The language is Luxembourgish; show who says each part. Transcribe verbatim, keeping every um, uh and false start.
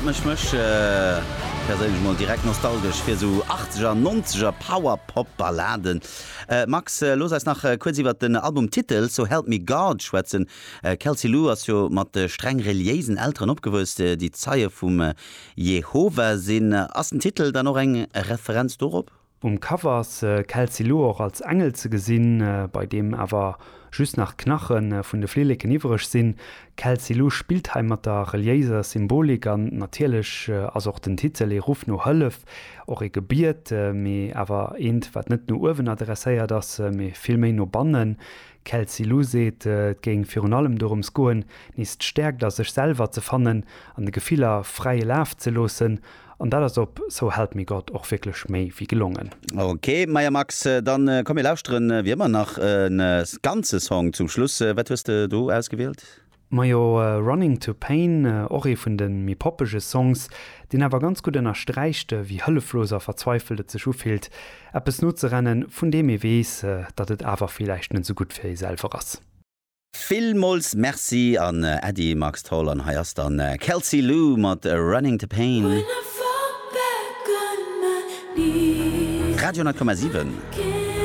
Speaker 1: mécht mech perséinlech mol direkt nostalgesch fir sou Achtzeger, Nonzeger Power-Pop-Balladen. Max, looss eis nach kuerz iwwert den Albumtitel So Help Me God schwätzen. Kelsey Lu ass jo mat streng reliéisen Elteren opgewuess, déi Zeie vum Jehova sinn. Ass den Titel dann och eng Referenz dorop?
Speaker 2: Um Cover ass Kelsey Lu och als Engel ze gesinn, bei deem awer just nach d'Knache vun de Flilleken iwwreg sinn. Kelsey Lu spillt hei mat der reliéiser Symbolik an natierlech ass och den Titel ee Ruff no Hëllef, och ee Gebiet, mee awer eent, wat net no uewen adresséiert ass, mee vill méi no bannen. Kelsey Lu seet, et géing virun allem dorëms goen, nees d'Stäerkt a sech selwer ze fannen an de Gefiller fräie Laf ze loossen. An dat ass op So Help Me God och wierklech méi wéi gelongen.
Speaker 1: Ok, maja Max, dann komm mir lauschteren wéi ëmmer nach e ganze Song zum Schluss. Wat hues de do ausgewielt?
Speaker 2: Majo Running to Pain, och ee vun de méi poppege Songs, deen awer ganz gutt ënnersträicht, wéi hëlleflos a verzweifelt et sech ufillt, eppes nozerennen, vun deem ee weess, datt et awer villäicht net esou gutt fir ee selwer ass.
Speaker 1: Villmools Merci an Äddi Max Tholl an hei ass dann Kelsey Lu mat Running to Pain. Radio honnert Komma siwen.